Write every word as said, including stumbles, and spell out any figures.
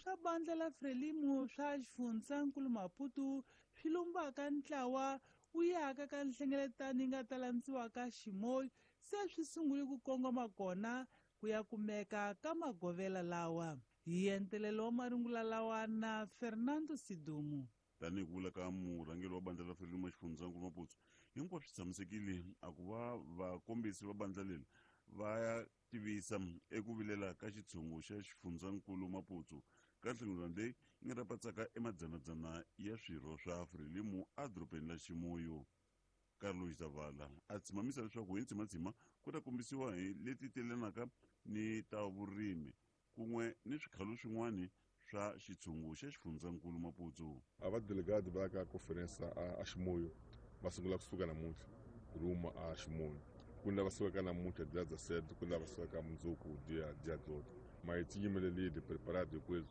swa bandla la Frelimo swa xifundzankulu Maputo swi lumbaka ntlawa wu yaka ka nhlengeletano yi nga ta landziwaka Chimoio se swi sungule ku kongoma kona ku ya kumeka ka magovela lawa hi entelelo wa marungula lawa na Fernando Sidumo. Tanihi ku vula ka murhangeri wa bandla la Frelimo xifundzankulu Maputo, hinkwaswo swi tshamisekile a ku va vakombisi va bandla leri va ya tivisa eku vilela ka xitshungu xa xifundzankulu Maputo ka nhlengeletano leyi yi nga ta patsaka emadzanadzana ya swirho swa Frelimo edorobeni la Chimoio. Carlos Zavala a tshimamisa leswaku hi ntsimatsima ku ta kombisiwa hi leti telanaka ni ta vurimi kun'we ni swikhalo swin'wana swa xitshungu xa xifundzankulu Maputo. A va delegado va ya ka conference a, a Chimoio va sungula kusuka namuntlha rumo a Chimoio. Ku ni lava sukaka namuntlha dia dezessete, ku ni lava sukaka mundzuku dia dia dezoito, mas tinha ali de preparado coisa.